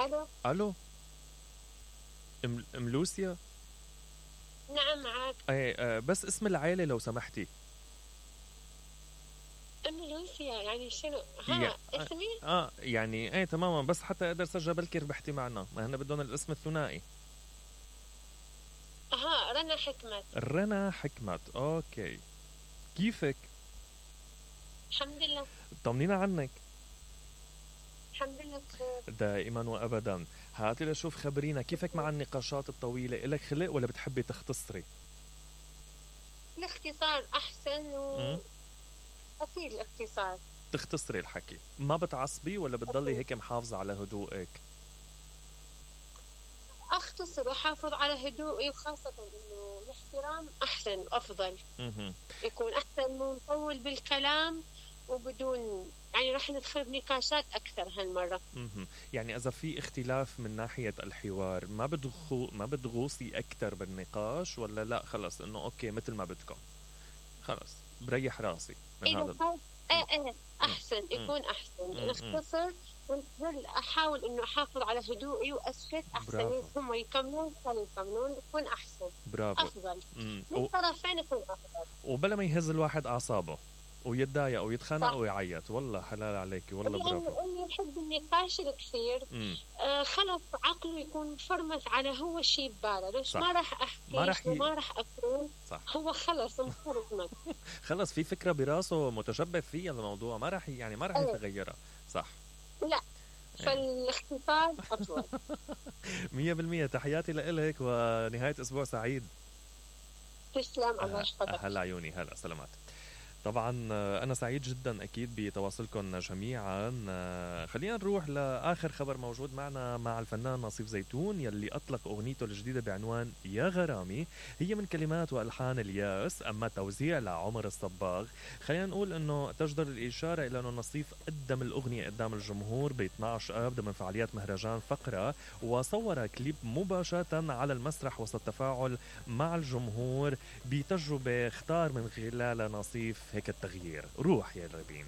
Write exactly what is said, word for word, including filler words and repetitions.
الو الو ام, أم لوسيا. نعم معك. ايه آه بس اسم العائلة لو سمحتي. ام لوسيا يعني شنو؟ يا ها اسمي؟ اه يعني ايه تماما، بس حتى اقدر سجل بلكي ربحتي معنا، ما هن بدهم الاسم الثنائي. ها رنا حكمت. رنا حكمت، اوكي. كيفك؟ الحمد لله. طمنينا عنك. الحمد لله بخير. دائما وابدا. هاتي لشوف، خبرينا كيفك مع النقاشات الطويلة، إلك خلق ولا بتحبي تختصري؟ الاختصار احسن و م? اكيد الاختصار. تختصري الحكي، ما بتعصبي ولا بتضلي أكيد. هيك محافظة على هدوءك؟ اختصر واحافظ على هدوئي، وخاصة انه الاحترام احسن وافضل. مهم. يكون احسن من نطول بالكلام وبدون يعني راح ندخل بنقاشات اكثر هالمرة. مهم. يعني إذا في اختلاف من ناحية الحوار، ما بدخو ما بتغوصي أكتر بالنقاش، ولا لا خلص إنه أوكي مثل ما بدكم، خلص بريح راسي من إذا هذا. صار ايه ايه احسن يكون احسن مم. نختصر ونظل احاول انه احافظ على هدوئي واسكت احسن. برافو. هم يكملون خلوا يكملون يكون احسن. برافو. افضل مم. من و... الطرفين يكون افضل. وبلا ما يهز الواحد أعصابه ويتضايق ويتخانق صح. ويعيط، والله حلال عليكي، والله برافو. لأنه اللي يحب النقاش الكثير مم. آه خلص عقله يكون فرمت على هو شيء بباله، ليش صح. ما راح احكي ما راح ي... وما راح اكون. صح. هو خلص انفرمت. خلص في فكرة براسه متشبث فيها الموضوع، ما راح يعني ما راح أيه. يتغيرها. صح. لا فالاختصار افضل. مية بالمية. تحياتي لإلك ونهاية أسبوع سعيد. تسلم الله يحفظك. هلا عيوني، هلا سلامات. طبعا أنا سعيد جدا أكيد بتواصلكم جميعا. خلينا نروح لآخر خبر موجود معنا مع الفنان نصيف زيتون، يلي أطلق أغنيته الجديدة بعنوان يا غرامي. هي من كلمات وألحان الياس، أما توزيع لعمر الصباغ. خلينا نقول أنه تجدر الإشارة إلى أنه نصيف قدم الأغنية قدام الجمهور ب اثني عشر آب ضمن فعاليات مهرجان فقرة، وصور كليب مباشرة على المسرح وسط تفاعل مع الجمهور بتجربة اختار من خلالها نصيف هيك التغيير. روح يا ربين.